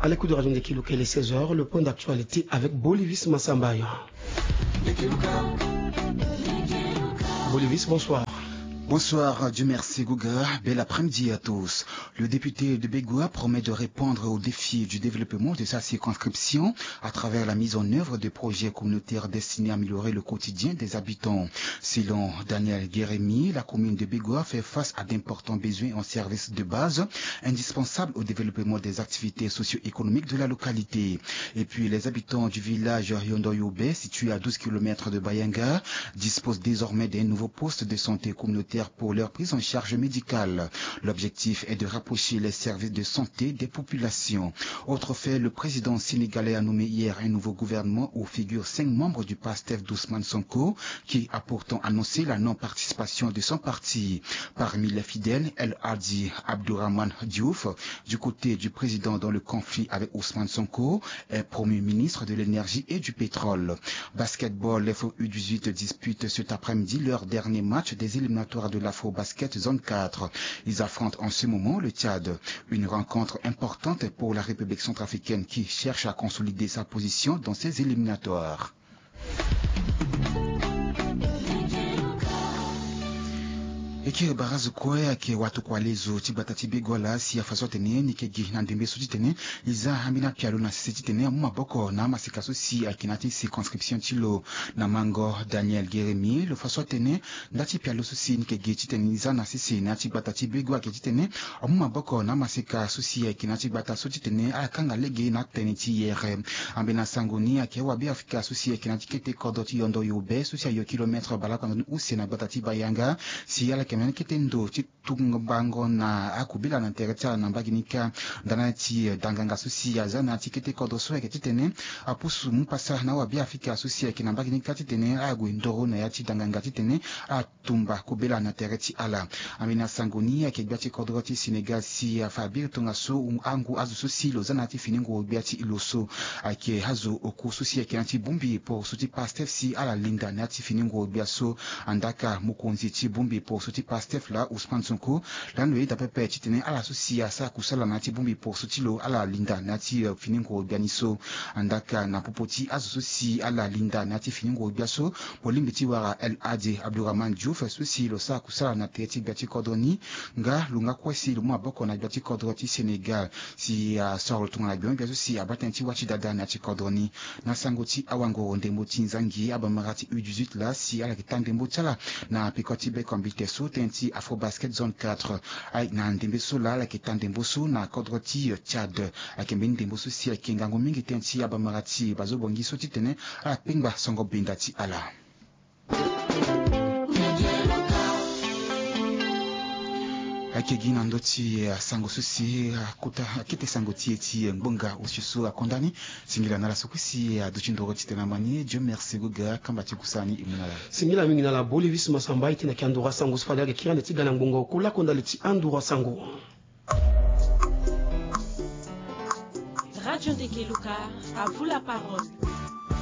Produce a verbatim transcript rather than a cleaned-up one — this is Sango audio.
À l'écoute de Radio Ndeke Luka, il est seize heures, le point d'actualité avec Bolivis Massamba. Bolivis, bonsoir. Bonsoir, Dieu merci Guga, bel après-midi à tous. Le député de Begoua promet de répondre aux défis du développement de sa circonscription à travers la mise en œuvre de projets communautaires destinés à améliorer le quotidien des habitants. Selon Daniel Guérémy, la commune de Begoua fait face à d'importants besoins en services de base indispensables au développement des activités socio-économiques de la localité. Et puis, les habitants du village Yondoyobe, situé à douze kilomètres de Bayanga, disposent désormais d'un nouveau poste de santé communautaire pour leur prise en charge médicale. L'objectif est de rapprocher les services de santé des populations. Autre fait, le président sénégalais a nommé hier un nouveau gouvernement où figurent cinq membres du PASTEF d'Ousmane Sonko, qui a pourtant annoncé la non-participation de son parti. Parmi les fidèles, El Hadi Abdourahmane Diouf, du côté du président dans le conflit avec Ousmane Sonko, est promu ministre de l'énergie et du pétrole. Basketball, les U dix-huit disputent cet après-midi leur dernier match des éliminatoires de l'Afro-Basket Zone quatre. Ils affrontent en ce moment le Tchad. Une rencontre importante pour la République centrafricaine qui cherche à consolider sa position dans ces éliminatoires. E kiri barazo kue ayeke watokua lezo ti gbata ti Begoua laa si afa so atene ni yeke gi na ndembe so titene e za ambeni apialo na sese titene amu maboko na amaseka so si ayeke na ya ti circonscription ti lo. Na mango Daniel Guérémy, lo fa so atene nda ti pialo so si ni yeke gi titene e za na sese na ya ti gbata ti Begoua ayeke titene amu maboko na amaseka so si ayeke na ya ti gbata so titene akanga lege na atënë ti yere. Ambeni asango ni ayeke awabe afrika so si ayeke na ya ti kete kodro ti Yondoyobe so si ayo kilomètre baleoko na ndoni use na gbata ti Bayanga, si ala yeke na ya ni kete ndo ti tumbango na akobela na tere ti ala na mbage ni kâ. Ndani ti danganga so si aza na ya ti kete kodro so ayeke titene apusu mu pasa na awabe afrika so si ayeke na mbage ni kâ titene ague ndoro na ya ti danganga titene atumba kobela na tere ti ala. Ambeni asango ni ayeke gbia ti kodro ti Sénégal si afa biri tongaso angu azo so si lo za na ya ti fini nguru gbia ti lo so ayeke azo oko so si ayeke na ya ti bongbi poroso ti PASTEF si ala linda na ya ti fini nguru gbia so. Andaka mokonzi ti bongbi poroso ti PASTEF laa Ousmane Sonko lani lo yeda pepe titene ala so si asara kusala na ya ti bongbi poroso ti lo ala linda na ya ti, eh, fini nguru gbia ni so. Andaka na popo ti azo so si ala linda na ya ti fini nguru gbia so, mo lingbi ti wara El Hadi Abdourahmane Diouf so si lo sara kusala na tere ti gbia ti kodro ni. Nga lo nga kue si lo mu maboko na gbia ti kodro ti Sénégal si asoro lo tongana gbia so si abaa tënë ti wâ ti dada na ya ti kodro ni. Na sango ti awangoro ndembo ti nzangi, abamara ti U dix-huit laa si ala yeke taa ndembo ti ala na peko ti beko mbite so tënë ti Afro Basket Zone quatre. Aye na ndembe so laa ala yeke taa ndembo so na kodro ti Tchad. Ayeke mbeni ndembo so si ayeke ngangu mingi tënë ti abamara ti bazo bongi so titene ala kpengba songo benda ti ala. Ayeke gi na ndö ti, eh, sango so si, eh, akota akete sango ti e ti, eh, ngbonga osio so akonda ni. Singila na ala so kue si, eh, aduti ndoro titene ama ni. Dieu merci Guga, kamba ti kusala ni e mu na ala. Singila mingi na ala Bolivis Massamba, e tene ayeke andoro asango so fade ayeke kiri ande ti ga na ngbonga oko lakonda li ti andoro asango. Radio Ndeke Luka, à vous la parole.